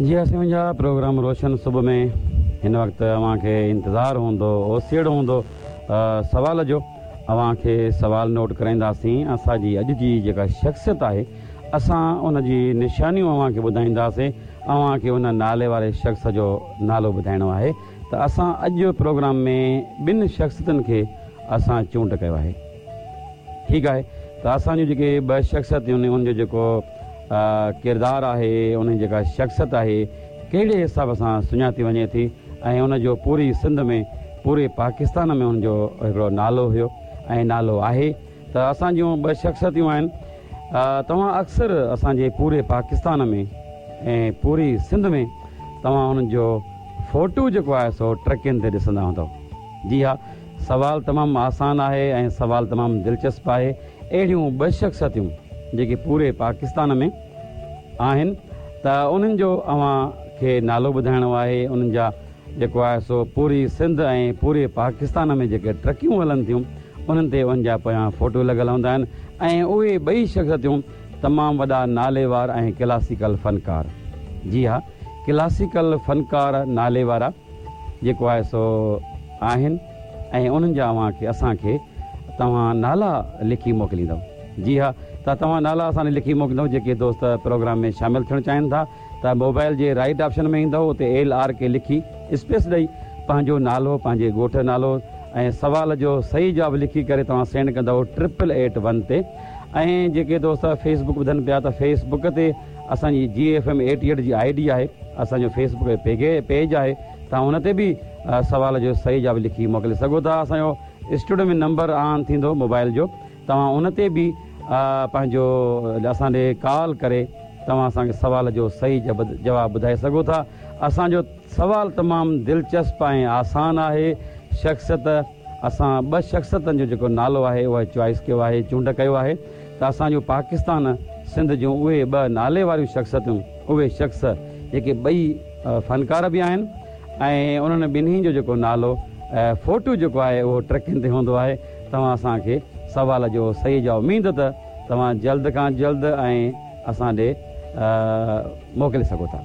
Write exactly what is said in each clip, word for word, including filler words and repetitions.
جي اسان جا پروگرام روشن صبح ۾ هن وقت اوهان کي انتظار هوندو، اوسيئڙو هوندو سوال جو. اوهان کي سوال نوٽ ڪرائينداسين. اسان جي اڄ جي جيڪا شخصيت آهي اسان ان جي نشانيون اوهان کي ٻڌائينداسين. اوهان کي ان نالي واري شخص جو نالو ٻڌائڻو آهي. ته اسان اڄ پروگرام ۾ ٻن شخصيتن کي اسان چونڊ ڪيو آهي. ٺيڪ آهي، ته اسان جون جيڪي ٻه شخصيتون آهن ان جو جيڪو ڪردار آهي، ان جي جيڪا شخصيت آهي ڪهڙي حساب سان سڃاتي وڃي ٿي ۽ ان جو پوري سنڌ ۾ پوري پاڪستان ۾ ان جو هڪڙو نالو هيو ۽ نالو آهي. ته اسان جون ٻه شخصيتون آهن. توهان اڪثر اسان جي پوري پاڪستان ۾ ۽ پوري سنڌ ۾ توهان انهن جو فوٽو جيڪو آهي سو ٽرڪين تي ڏسندا هوندؤ. جي ها، سوال تمام آسان آهي ۽ سوال تمام دلچسپ آهي. اهڙيون ٻه شخصيتون جيڪي پوري پاڪستان ۾ آهن ته انهن جو اوهان کي نالو ٻڌائڻو آهي. انهن جا جيڪو آهي سو پوري سنڌ ۽ پوري پاڪستان ۾ جيڪي ٽرڪيون هلن ٿيون انهن تي انهن جا پويان فوٽو لڳل هوندا آهن ۽ اهي ٻئي شخصيتون تمام وڏا ناليوار ۽ ڪلاسيڪل فنڪار. جي ها، ڪلاسيڪل فنڪار نالي وارا جيڪو آهي سو آهن ۽ انهن جا اوهان کي اسان کي توهان نالا لکي موڪليندؤ. جي ها، ته توهان نالا اسان کي لکي موڪليندؤ. جيڪي دوست پروگرام ۾ شامل ٿيڻ چاهين ٿا ته موبائل جي رائٽ آپشن ۾ ايندؤ، اتي ايل آر ڪي لکي اسپيس ڏئي پنهنجو نالو، پنهنجي ڳوٺ جو نالو ۽ سوال جو صحيح جواب لکي ڪري توهان سينڊ ڪندؤ ٽرپل ايٽ ون تي. ۽ جيڪي دوست فيس بڪ ٻڌن پيا ته فيس بڪ تي اسان جي جي ايف ايم ايٽي ايٽ جي I D آهي، اسان جو فيس بڪ پيج آهي، توهان ان تي به سوال جو صحيح جواب لکي موڪلي سگهو ٿا. اسان جو اسٽوڊيو ۾ نمبر آن ٿيندو موبائل جو، توهان ان تي به پنهنجو اسان ڏي ڪال ڪري توهان اسان کي سوال جو صحيح جواب ٻڌائي سگهو ٿا. اسان جو سوال تمام دلچسپ ۽ آسان آهي. شخصيت اسان ٻه شخصيتن جو جيڪو نالو آهي اهو چوائس ڪيو آهي، چونڊ ڪيو آهي. ته اسان جو پاڪستان سنڌ جون اهي ٻه نالي واريون شخصيتون، اهي شخص جيڪي ٻئي فنڪار به آهن ۽ انهن ٻنهي جو جيڪو نالو فوٽو جيڪو آهي اهو ٽرڪين تي هوندو آهي. توهان اسان کي سوال جو صحيح جواب اميد ته توهان جلد کان جلد ۽ اسان ڏي موڪلي سگهو ٿا.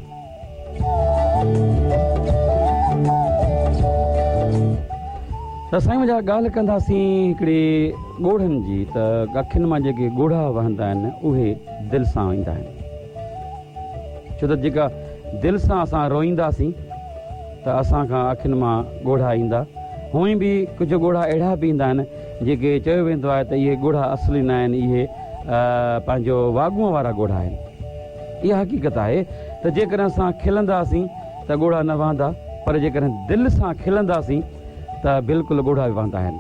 ته سائين منهنجا ڳالهه ڪنداسين هڪڙي ڳوڙهن جي. ته اکين مان جيڪي ڳوڙها وهندا آهن اهي دل سان ايندا آهن، ڇو ته جيڪا دل سان اسان روئينداسين ته اسان کان اکين مان ڳوڙها ايندا. هونئن به ڪجهه ڳوڙها اهڙا به ايندا آهن جيڪي چيو ويندو آهي ته اهي ڳوڙها اصلي نه آهن، اهي پنهنجو واڳونءَ وارا ڳوڙها آهن. اها حقيقت آهي ته جيڪڏهن اسان کلنداسين ته ڳوڙها نه وهندا، پر جيڪڏهن دل سان کلنداسين ته بلڪل ڳوڙها به وهندا آهن.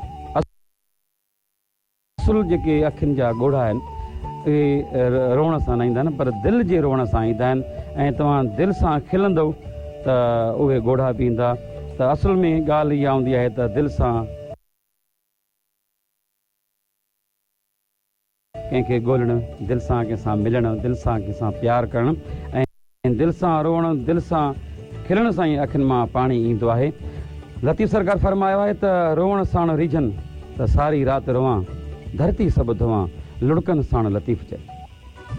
اصل جيڪي اکين جا ڳوڙها آهن اهي روئڻ سان نه ايندا آهن، پر دل جي روئڻ سان ايندا آهن. ۽ توهان دل سان کلندؤ ته اهي ڳوڙها به ايندا. ته اصل ۾ ڳالهه اها هوندي آهي ته دل سان ڪنهن کي ڳولڻ، دل سان ڪنهن سان ملڻ، دل سان ڪنهن سان پيار ڪرڻ ۽ دل سان روئڻ، دل سان کلڻ سان ئي اکين مان پاڻي ايندو آهي. لطيف سرڪار فرمايو آهي ته روئڻ ساڻ ريجهن ته ساري رات روئان، ڌرتي سڀ ڌوئان، لڙڪن ساڻ لطيف چئي.